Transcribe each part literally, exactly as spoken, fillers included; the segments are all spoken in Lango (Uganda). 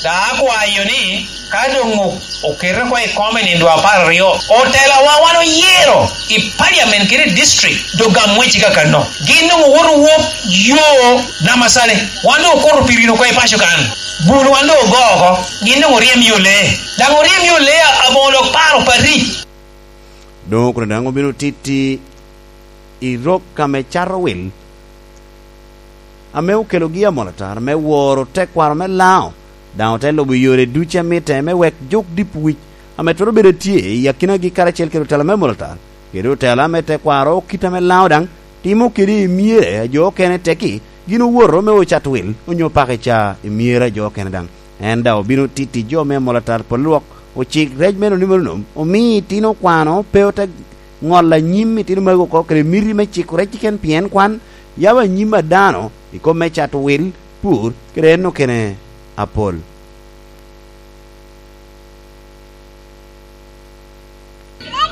Ka akwayo ni, ka doŋ o-, oketo oko i kom i nino apar aryo, otelawa wan oyero i parliament kede i district, doŋ gam wecci kakano. Gin doŋ owoto wop yo Namasale. Wan doŋ okoto pi rino oko i paco kan. Bul wan doŋ ogo oko. Gin doŋ oryem yo lee. Daŋ oryem yo lee a-, aboŋo dok paro Paris. Doŋ kono daŋ obino titti i rok ame cato wil, ame okelogi amolatar me woro tekwaro me Laŋo, daŋ ote lubo yore ducu a mitte me wek juk dip wic ame twero bedo tye i akinagi karacel kede otela me amolatar, kede otela me tekwaro kit ame Laŋo daŋ timo kede i myere a jo okene tekki, gin owoto me ocat wil onyo pako i ca i myere a jo okene daŋ. En daŋ obino titti jo me amolatar pol lwok, ocik rec me nonimo nonom, omi itino kwano pe ote ŋolo anyim itino magi oko kede miti me ciko rec keken pien kwan yabo anyim a dano i kom me cato wil, pur, kede en okene apol.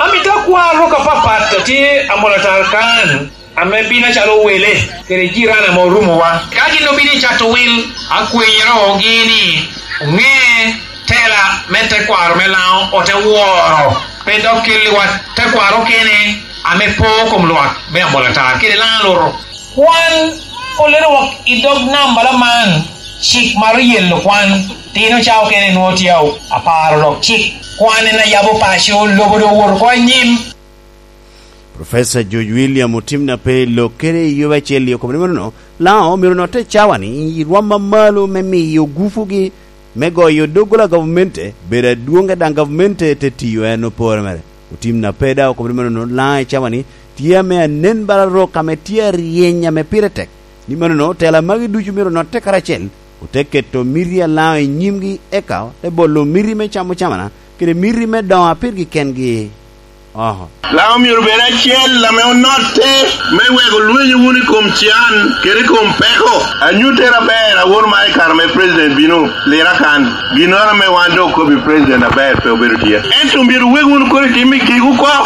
Amito akwar rok apapat a tye amolatar kan, ame bino acalo wele kede jiran ame orumowa. Ka gin obino i cato wil, akwenyorogi ni oŋe tela me tekwaro me Laŋo ote woro, pe dok kelliwa tekwaro kene ame po kom lwak me amolatar kede Laŋo aluto. Kwan olero wok i dog nambala man, cik maro yelo kwan, tino ca okene nwoŋo tye a-, aparo dok cik. Kwan en ayabo paco, lobo doŋ owoto oko anyim. Professor George William otim na pe lok kede i yobe acel i okobo ni manono, Laŋo myero notte cawa ni i rwom amalo me miyo gufugi me goyo doggola gavamente bedo adwoŋ, ka daŋ gavamente te tiyo en opore mere. Otim na pe daŋ okobo ni manono, Laŋo i cawa ni tye ame anen bala rok ame tye aryeny ame pire tek. Ni manono, tela magi ducu myero notte karacel, ote keto miti a Laŋo i nyimgi, eka te bolo miti me camo camana, kede miti me doŋo a pirgi kengi. Oho. Laŋo myero bed acel ame onotte me weko lwenyo wunu i kom can kede i kom peko. Anyutte aber awor ma i kare me president bino lira kan. Ginnoro ame wan doŋ okobo i president aber pe obedo tye. Ento myero wek wunu kono itim i kik oko.